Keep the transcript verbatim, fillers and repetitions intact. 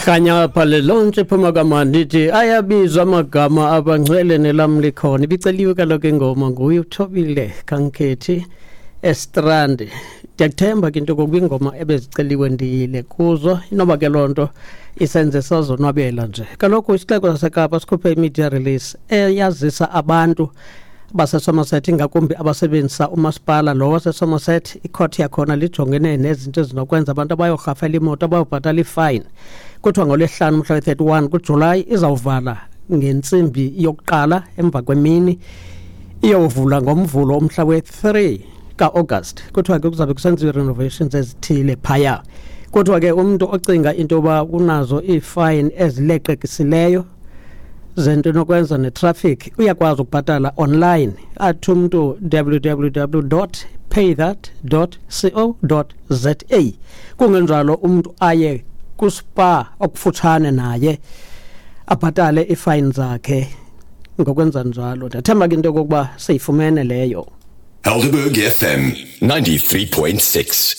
Khanya apha le lonke iphuma kamandi ithi ayabizwa amagama abangcwele nelam likhona. Ibiceliwe kaloku ingoma nguye uThobile Kankhethi eStrand. Ndiyakuthemba ke into okokuba ingoma ebeziceliwe ndiyile kuzo, inoba ke loo nto isenze sazonwabela nje. Kaloku isixeko saseKapa sikhuphe i-media release eyazisa abantu baseSomerset, ingakumbi abasebenzisa umasipala lo waseSomerset. Ikhoti yakhona lijongene nezinto ezinokwenza abantu abayorhafela imoto, abayobhatala ifayini. Kuthiwa ngolwesihlanu umhla we-thirty-one kuJulayi izawuvala ngentsimbi yokuqala emva kwemini, iyovula ngoMvulo umhla we-three ka-August. Kuthiwa ke kuzawube kusenziwa ii-renovations ezithile phaya. Kuthiwa ke umntu ocinga into yoba unazo iifayini ezileqekisileyo zento enokwenza netraffic uyakwazi ukubhatala online, athi umntu w w w dot paythat dot co dot za. Kungenjalo umntu aye kuSpar okufutshane naye abhatale iifayini zakhe ngokwenza njalo. Ndiyathemba ke into yokokuba siyifumene leyo. Helderberg F M ninety-three point six.